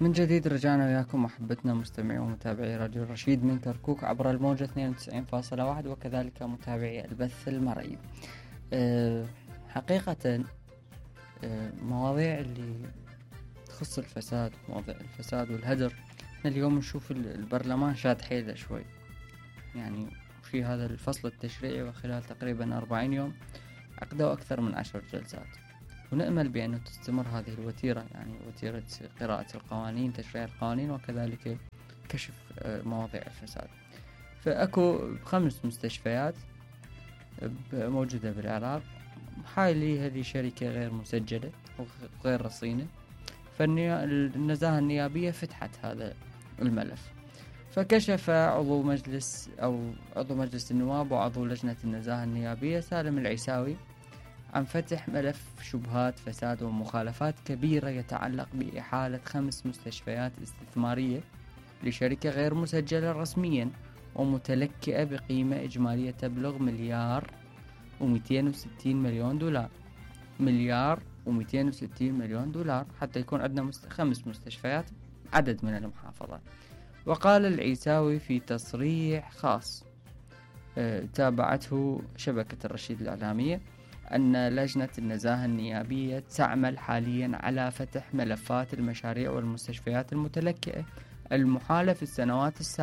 من جديد رجعنا وياكم محبتنا مستمعي ومتابعي راديو الرشيد من كركوك عبر الموجة 92.1 وكذلك متابعي البث المرئي. حقيقة مواضيع اللي تخص الفساد، مواضيع الفساد والهدر، اليوم نشوف البرلمان شاد حيله شوي، يعني في هذا الفصل التشريعي وخلال تقريبا 40 يوم عقدوا أكثر من 10 جلسات، ونأمل بأنه تستمر هذه الوتيرة، يعني وتيرة قراءة القوانين، تشريع القوانين، وكذلك كشف مواضيع الفساد. فأكو 5 مستشفيات موجودة بالعراق، حالي هذه شركة غير مسجلة وغير رصينة، فالنزاهة النيابية فتحت هذا الملف. فكشف عضو مجلس النواب وعضو لجنة النزاهة النيابية سالم العيساوي عن فتح ملف شبهات فساد ومخالفات كبيرة يتعلق بإحالة 5 مستشفيات استثمارية لشركة غير مسجلة رسميا ومتلكئة بقيمة إجمالية تبلغ $1,260 مليون، $1,260 مليون، حتى يكون عندنا 5 مستشفيات، عدد من المحافظات. وقال العيساوي في تصريح خاص تابعته شبكة الرشيد الإعلامية أن لجنة النزاهة النيابية تعمل حاليا على فتح ملفات المشاريع والمستشفيات المتلكئة المحالة في السنوات السابقة